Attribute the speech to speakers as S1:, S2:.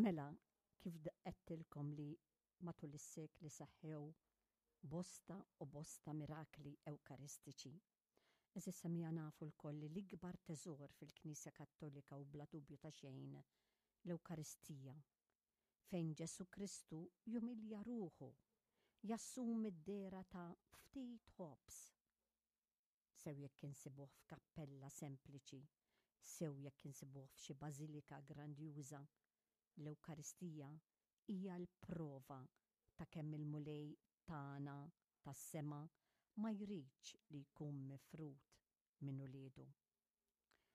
S1: Mela, kif għedtilkom li matul is-sekli seħħew bosta u bosta mirakli ewkaristiċi. Għeżież semmiegħa nafu lkoll li l-ikbar teżor fil-Knisja Kattolika hu bla dubju ta' xejn l-Ewkaristija, fejn Ġesù Kristu jumilja ruħu, jassumi d-dehra ta' ftit ħobż. Sew jekk insibuh f'kappella sempliċi, sew jekk insibuh f'xi bażilika grandjuża, l-Ewkaristija hija l-prova ta' kemm il-Mulej tagħna tas-sema ma jridx li jkun mifrud minn uliedu.